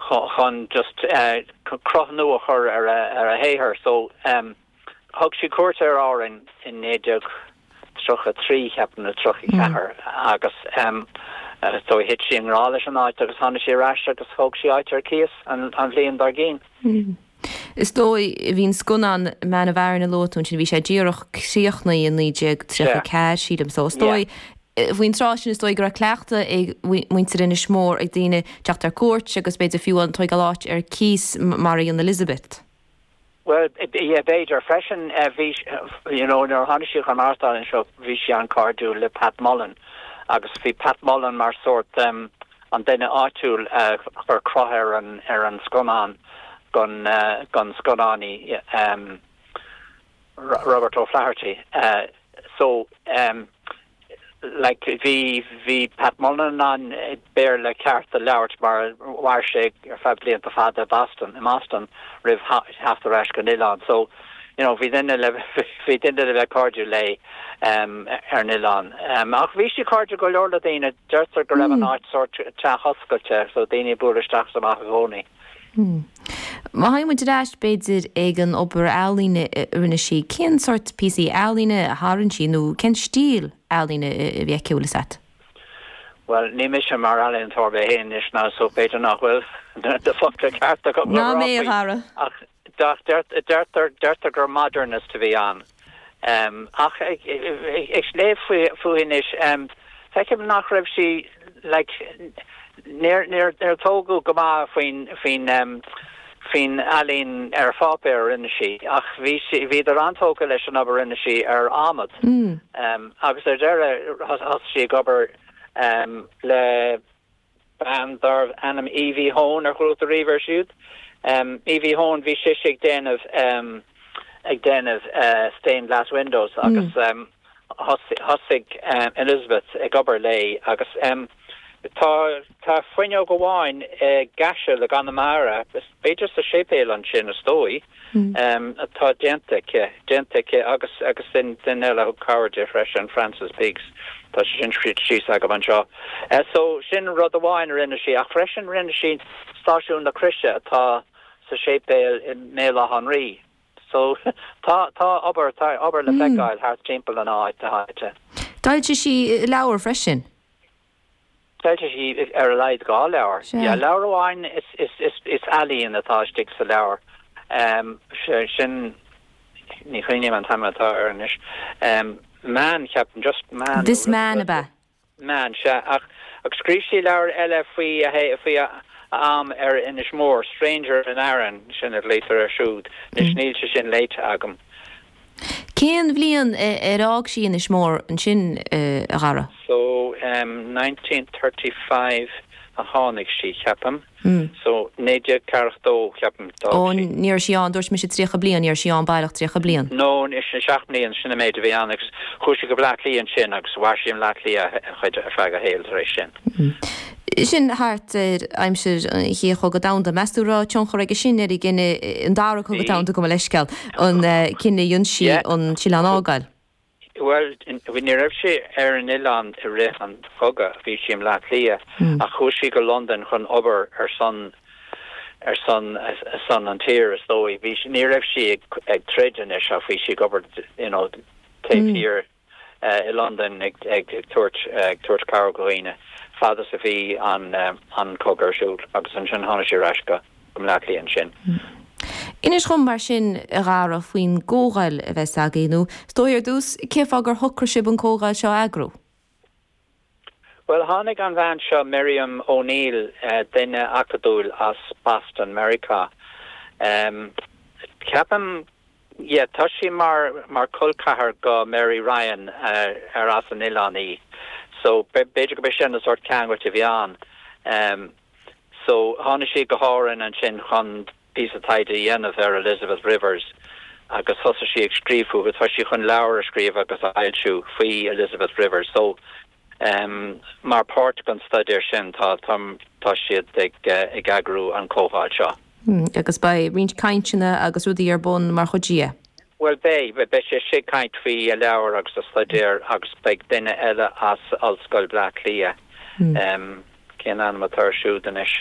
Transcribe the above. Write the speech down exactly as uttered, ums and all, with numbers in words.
chun just uh, cruth nua a chur ar a, ar a shaothar so um, thug sí cuairt ar Árainn in naoi déag tríocha trí ceapaim nó tríocha ceathair agus um, uh, so thit sí i ngrá leis an áit agus tháinig sí ar ais agus thóg sí áit ar cíos an, an bhliain dár gcionn. Mm. Is dóigh bhí an scannán Man of Aran a luaigh tú sin bhí sé díreach críochnaithe i naoi déag tríocha ceathair sílim so is dóigh faoin tráth sin is dóigh go raibh cleachtadh ag muintir Inis Mór ag daoine teacht ar cuairt agus b'fhéidir fiú an tógáil áit ar cíos mar a dhein Elizabeth. Well yeah, b'fhéidir freisin uh, bhí you know nuair a tháinig sí chun maireachtáil anseo bhí sí an-chairdiúil le Pat Mullen agus bhí Pat Mullen mar sort um, an duine áitiúil uh, chuir cruth ar an ar an scannán don uh, don scannánaí um, Robert O'Flaherty. Uh, so um, like bhí bhí Pat Mullen an Béarla ceart a labhairt mar mhair sé ar feadh blianta fada Boston i Boston roimh theacht ar ais go oileán so you know bhí duine le bhí duine le bheith cairdiúil léi um, ar an oileán. Um, ach bhí sí cairdiúil go leor le daoine deirtear go raibh an mm. áit sort teach oscailte so daoine bualadh isteach amach i gcónaí. Hmm. Má théann muid ar ais b'fhéidir ag an obair ealaíne a rinne sí cén sort píosaí ealaíne a tharraing sí nó cén stíl ealaíne a bhí aici leat? Well ní mise mar ealaíontóir mé féin is ná so b'fhéidir nach bhfuil na focla cearta Ná mé a Dhara. ach deirtear deirtear gur modernist a bhí ann. Um, ach ag léamh fúithi anois um, feicim nach raibh sí like, níor níor níor tógadh go maith faoin faoin um, faoin ealaín ar pháipéar a rinne sí ach bhí sí bhíodar an-tógtha leis an obair rinne sí ar adhmad. Mm. Um, agus ar deireadh thosaigh sí ag obair um, le bean darbh ainm Evie Hone ar chuala tú riamh air siúd. Um, Evie Hone bhí sí ag déanamh um, ag déanamh uh, stained glass windows agus mm. um, thosaigh um, Elizabeth ag obair léi agus um, tá tá fuinneog amháin i gCaiseal i gConamara b'fhéidir sa séipéal ansin is dóigh mm. um, atá déanta aici déanta aici agus agus sin duine eile thug cabhair di freisin Francis Biggs tá sin scríte síos agam anseo. Uh, so sin rud amháin rinne sí ach freisin rinne sí stáisiún na Croise atá sa séipéal i mBéal Átha an Rí. So tá tá obair tá obair le mm. feiceáil thart timpeall an áit háite. D'fhoilsigh sí leabhar freisin. D'fhoilsigh sí ar a laghad dhá leabhar. Ja leabhar amháin is is is is ealaín atá istigh sa leabhar. Um, sin ní chuimhním an t-ainm atá air anois. Um, man ceapaim just man This man ab ea. Man se ach ach scríobh sí leabhar eile faoi faoi am ar Inis Mór Stranger in Aran sin a léitear ar siúd nis níl sé sin léite agam. Cén bhliain ar fhág sí Inis Mór ansin a Dhara? So um, nineteen thirty five a tháinig sí ceapaim. Mm. So naoi déag ceathracha dó ceapaim Ó ní raibh sí ann dúirt mise tríocha bliain ní raibh sí ann baileach tríocha bliain. No is sin seacht mbliana sin an méid a bhí ann agus chuaigh sí go Bleá Cliath ansin agus mhair sí i mBleá Cliath a chuid ar feadh a shaoil tar éis sin. Mm. Sin thart ar aimsir an Chéad Chogadh Domhanda. Meas tú raibh tionchar aige sin ar an gcinneadh an dara cogadh domhanda gabh mo leithscéal an cinneadh a dhein sí an t-oileán a fhágáil. Bhuel, ní raibh sí ar an oileán i rith an chogaidh, bhí sí i mBleá Cliath, ach chuaigh sí go Londain chun obair ar son ar son ar son an tír is dóigh. Bhí sí, ní raibh sí ag ag troid anois ach bhí sí ag obair you know taobh thiar i Londain ag ag ag tabhairt ag tabhairt cabhair do dhaoine fad is a bhí an an cogadh ar siúl agus ansin tháinig sí ar ais go go Bleá Cliath ansin. Inis dhom mar sin, a Dhara, faoin gcomhdháil a bheas agaibh, nó is dóigh ar dtús, cén fáth gur shocraigh sibh an comhdháil seo a eagrú? Bhuel, tháinig an bhean seo, Miriam O'Neill, duine acadúil as Boston, Meiriceá. Ceapaim, yeah, tá sí mar mar col ceathar go Mary Ryan ar as an oileán í. So, b'fhéidir go b'é sin an sórt ceangailt a bhí ann. So, tháinig sí go hÁrainn ansin chun píosa taighde a dhéanamh ar Elizabeth Rivers agus thosaigh sí ag scríobh fúithi, tá sí chun leabhar a scríobh agus a fhoilsiú faoi Elizabeth Rivers. So, um, mar páirt den staidéar sin tá tá tá siad ag ag eagrú an comhdháil seo. Mm, agus beidh roinnt cainteanna agus rudaí ar bun mar chuid dhe? Bhuel beidh, beidh sise ag caint faoi a leabhar agus a staidéar agus beidh duine eile as Ollscoil Bhleá Cliath, mm. um, cén ainm atá air siúd anois?